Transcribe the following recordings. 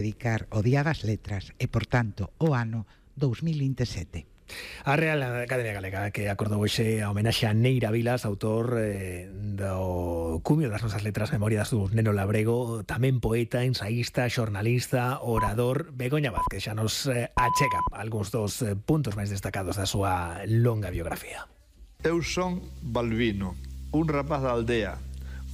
dedicar o Día das Letras e, por tanto, o ano 2027. A Real Academia Galega que acordou hoxe a homenaxe a Neira Vilas, autor do cumio das nosas letras, Memorias dun neno labrego, tamén poeta, ensaísta, xornalista, orador. Begoña Vázquez xa nos achega algúns dos puntos máis destacados da súa longa biografía. Eu son Balbino, un rapaz da aldea,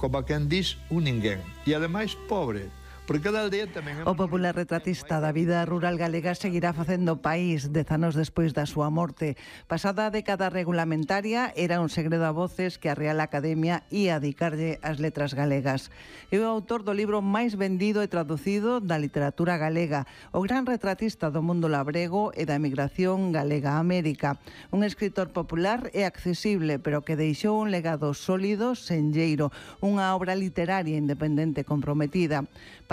como quen dis un ninguén, e ademais pobre, porque cada aldea tamén... O popular retratista da vida rural galega seguirá facendo país 10 anos despois da súa morte. Pasada a década regulamentaria, era un segredo a voces que a Real Academia ia dedicarlle as letras galegas. É o autor do libro máis vendido e traducido da literatura galega, o gran retratista do mundo labrego e da emigración galega a América. Un escritor popular e accesible, pero que deixou un legado sólido, senlleiro, unha obra literaria independente comprometida.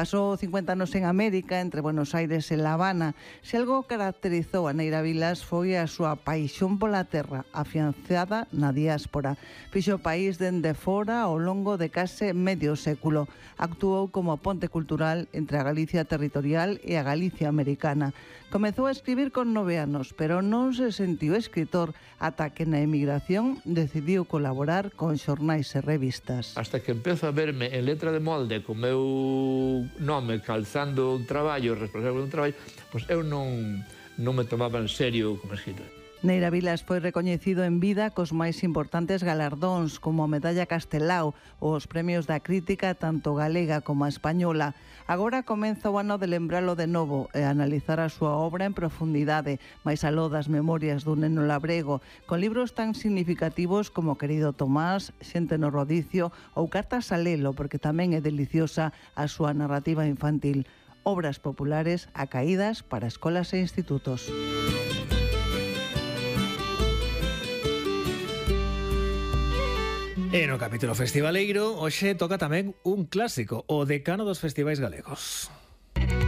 Pasou 50 anos en América, entre Buenos Aires e La Habana. Se algo caracterizou a Neira Vilas foi a súa paixón pola terra, afianzada na diáspora. Fixo o país dende fora ao longo de case medio século. Actuou como ponte cultural entre a Galicia territorial e a Galicia americana. Comezou a escribir con 9 anos, pero non se sentiu escritor ata que na emigración decidiu colaborar con xornais e revistas. Hasta que empezo a verme en letra de molde co meu nome calzando un traballo, responsable de un traballo, pois eu non me tomaba en serio como escritor. Neira Vilas foi recoñecido en vida cos máis importantes galardóns, como a Medalla Castelao ou os premios da crítica tanto galega como española. Agora comeza o ano de lembralo de novo e analizar a súa obra en profundidade, máis aló das Memorias dun neno labrego, con libros tan significativos como Querido Tomás, Xente no rodicio ou Cartas a lelo, porque tamén é deliciosa a súa narrativa infantil. Obras populares acaídas para escolas e institutos. E no capítulo festivaleiro, hoxe toca tamén un clásico, o decano dos festivais galegos.